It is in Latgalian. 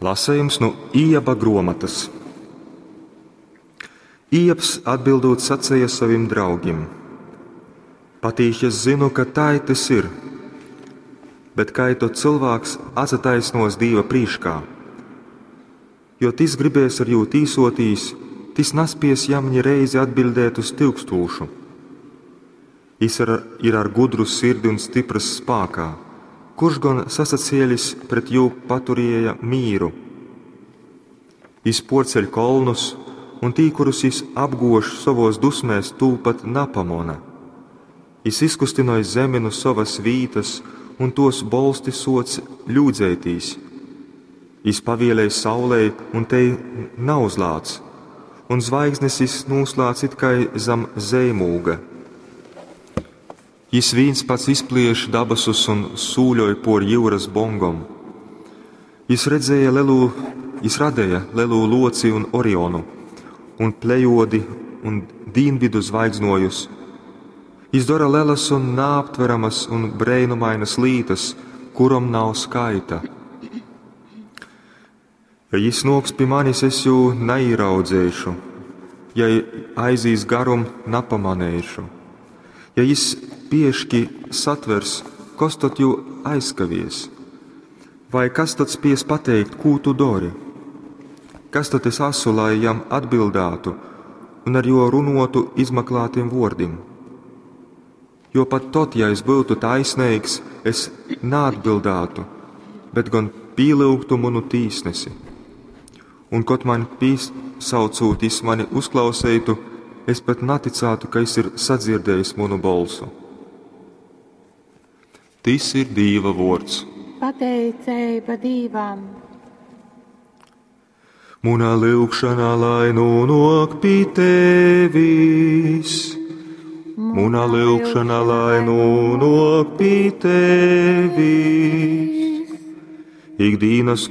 Lasejums nu Ijaba gruomotys. Ijabs atbildūt saceja sovim draugim: Patīši es zynu, ka tai tys ir. Bet kai tod cylvāks atsataisnuos Dīva prīškā? Jo tys gribēs ar jū tīsuotīs, tys naspies jam ni reizi atbiļdēt uz tyukstūšu. Jis ir ar gudru sirdi un styprys spākā. Kurš gon sasacielis pret jū paturieja mīru? Jis puorceļ kolnus, un tī, kurus jis apguož sovuos dusmēs, tū pat napamona. Jis izkustynoj zemi nu sovys vītys, un tuos bolsti suoc ļūdzeitīs. Jis pavielej saulei, un tei nauzlāc, un zvaigznis jis nūslādz it kai zam zeimūga. Jis vīns pats izplieš dabasus un sūļoj puor jiurys bongom. Jis redzēja lelū, jis radeja lelū luoci un Orionu, un Plejodi un dīnvidu zvaigznuojus. Jis dora lelys un naaptveramys un breinumainys lītys, kurom nav skaita. Ja jis nuoks pi manis, es jū naīraudzeišu, ja aizīs garum, napamaneišu. Ja jis pieški satvers, kos tod jū aizkavies? Vai kas tod spies pateikt, kū tu dori? Kas tod es asu, lai jam atbildātu un ar jū runuotu izmaklātim vuordim? Jo pat tod, ja es byutu taisneigs, es naatbildātu, bet gon pīlyugtu munu tīsnesi. Un kod man pīsaucūt jis mani uzklauseitu, es pat naticātu, ka jis ir sadzirdējis munu bolsu. Tys ir Dīva vuords. Pateiceiba Dīvam! Muna lyugšana lai nūnuok pi tevis. Muna lyugšana lai nūnuok pi tevis. Ikdīnas.